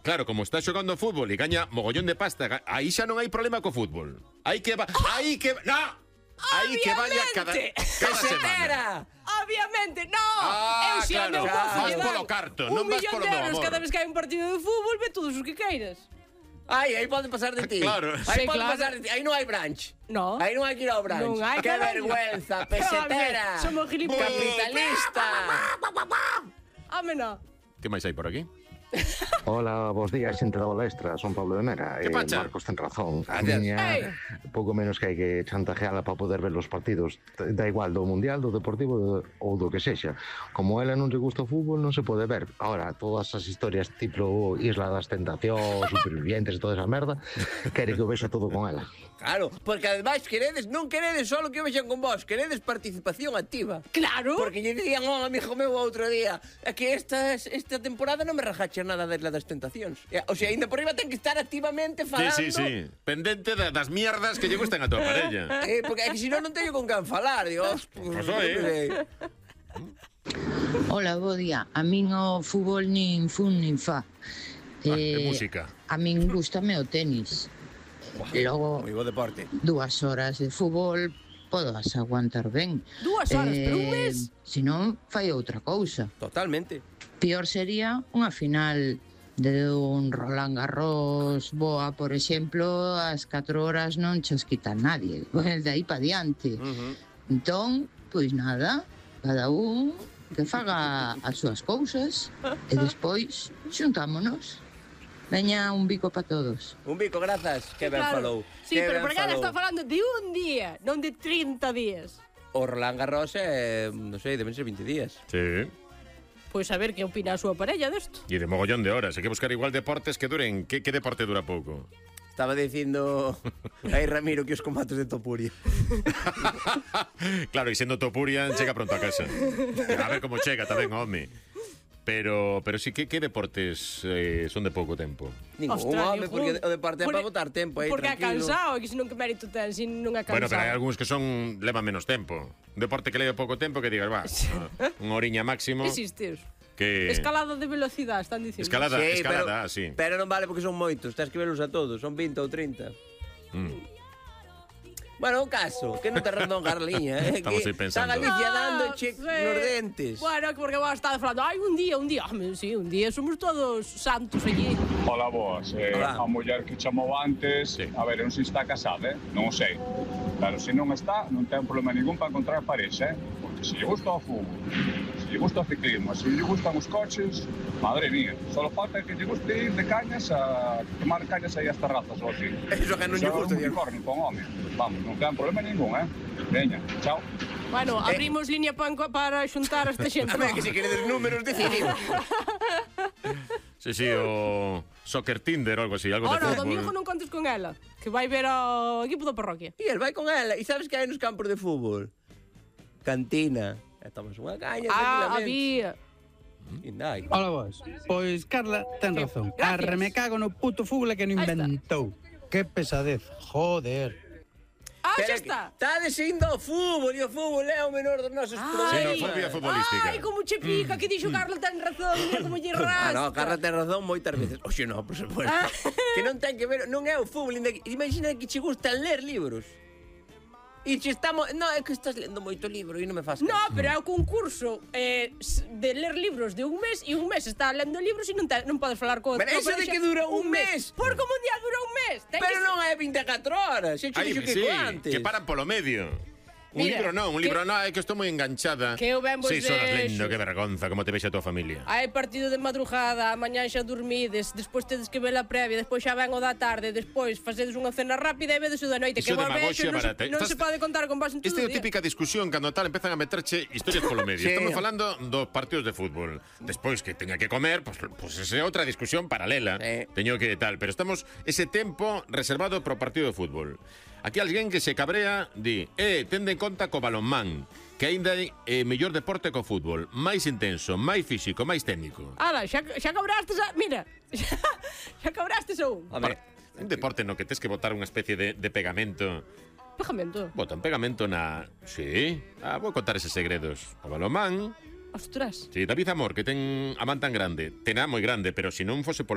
Claro, como está xogando fútbol e gaña mogollón de pasta, aí xa non hai problema co fútbol. Aí que vaya cada semana. Obviamente, no. Eu si claro. ando Vas polo carto, non vas polo meu amor. cada vez que hai un partido de fútbol, ve todos os que queiras. Aí poden pasar de ti. Claro. Aí Sí, poden claro. pasar de ti. Aí non hai branch. No. Aí non hai que ir ao branch. Non hai, Que caralho. vergüenza, pesetera. Somos gilipollas. Capitalista. Home, no. Que máis hai por aquí? Hola, bos días, xente da Balestra, son Pablo de Mera. Que pacha? Marcos ten razón. A Gracias. miña, pouco menos que hai que chantajeala para poder ver os partidos. Da igual do Mundial, do Deportivo ou do que sexa. Como ela non lle gusta o fútbol, non se pode ver. Ahora, todas as historias tipo Isla das Tentacións, Supervivientes e toda esa merda, quere que o vexa todo con ela. Claro, porque ademais non queredes só que o vexan con vos, queredes participación activa. Claro. Porque lle dicían, amigo meu, outro día, que esta temporada non me rajache nada de Isla das Tentacións. O sea, ainda por riba ten que estar activamente falando. Sí. Pendente das mierdas que lle gustan a tua parella. Porque é que senón non teño con quen falar, digo, Pois oi. Hola, bo día. A min o fútbol nin fun nin fa. De música. A min gustame o tenis. Logo, moi bo deporte. 2 horas de fútbol podas aguantar ben. 2 horas, pero un mes. Se non, fai outra cousa. Totalmente. Pior sería unha final de un Roland Garros boa, por exemplo, ás 4 horas non chasquita nadie. De aí pa diante. Entón, pois nada, cada un que faga as súas cousas e despois xuntámonos. Veña, un bico para todos. Un bico, grazas. Que ben falou. Sí, Que pero ben porque ela falou. está falando de un día, non de 30 días. O Roland Garros non sei, deben ser 20 días. Sí. Pois a ver que opina a súa parella desto. E de mogollón de horas. Hai que buscar igual deportes que duren. Que deporte dura pouco? Estaba dicindo aí Ramiro que os combates de Topuria. Claro, e sendo Topurian chega pronto a casa. A ver como chega tamén, home. Pero sí, que deportes son de pouco tempo? Ningún, Ostras, home, porque o deporte é para botar tempo aí, porque tranquilo. é cansado, e que se non que mérito ten, se non é cansado. Bueno, pero hai algúns que levan menos tempo. Un deporte que leva pouco tempo que digas, unha horiña máximo. Existes. Que... Escalada de velocidade, están dicindo. Escalada, sí. Pero non vale porque son moitos, tens que velos a todos, son 20 ou 30. Bueno, o caso, que non te razón, Carliña, Estamos aí que pensando. está Galicia dándoche sí. nos dentes. Bueno, porque vos estás falando, un día. Home, sí, un día somos todos santos allí. Hola, boas. Hola. A muller que chamou antes, Sí. a ver, non sei se está casada, non o sei. Pero se non está, non ten problema ningún para encontrar parexa, porque se lle gusta o fútbol, se lle gusta o ciclismo, se lle gustan os coches, madre mía, só falta que lle guste ir de cañas a tomar cañas aí as terrazas ou así. Eso que non lle gusta, un unicornio con home. Vamos, non ten problema ningún, Veña, chao. Bueno, abrimos línea para xuntar a esta xente. A ver, que se queredes números decidimos. Sí, o Soccer Tinder ou algo así, algo de No, fútbol. domingo non contes con ela, que vai ver ao equipo da parroquia. E el vai con ela. E sabes que hai nos campos de fútbol? Cantina. E tomas unha caña tranquilamente. Había. Indai. Hola vos. Pois Carla ten razón. Gracias. Arre me cago no puto fútbol que non Aí está. inventou. Que pesadez, joder. Xa está. Está desindo o fútbol e o fútbol é o menor dos nosos problemas. Xenofobia futbolística. Ai, como che pica, que dixo Carla ten razón, mira como lle rasca. No, Carla ten razón moitas veces. Oxe, non, por supuesto. Que non ten que ver, non é o fútbol. Imagina que che gusta ler libros. E se estamos... No, é que estás lendo moito libro e non me fas caso. No, pero é o concurso de ler libros de un mes e un mes está lendo libros e non podes falar con... Pero eso de que dura un mes. Porque o mundial dura un mes. Pero non é 24 horas. Xe che dixo que sí, antes. que paran polo medio. Un Mira, libro non, é que estou moi enganchada. Que eu ben vos 6 horas vexo. lendo, que vergonza, como te vexe a tua familia. Hai partido de madrugada, a mañán xa dormides, despois tedes que ver a previa, despois xa ven o da tarde, despois facedes unha cena rápida e vedes o da noite. Iso Que vos demagoxia vexo, barata. non se pode contar con vos en todo Esta é o a día. típica discusión cando tal empezan a meterche historias polo medio. Sí. Estamos falando dos partidos de fútbol. Despois que teña que comer, pues esa é outra discusión paralela. Sí. Teño que tal, pero estamos ese tempo reservado pro partido de fútbol. Aquí alguén que se cabrea di, tende en conta co balonmán, que aínda é mellor deporte co fútbol, máis intenso, máis físico, máis técnico. Ala, xa cabrastes a... Mira, xa cabrastes a un. Home, Un deporte no que tes que botar unha especie de pegamento. Pegamento. Botan pegamento na... Sí, vou contar eses segredos. O balonmán... Ostras. Sí, David Amor, que ten a man tan grande. Ten a moi grande, pero se non fose polo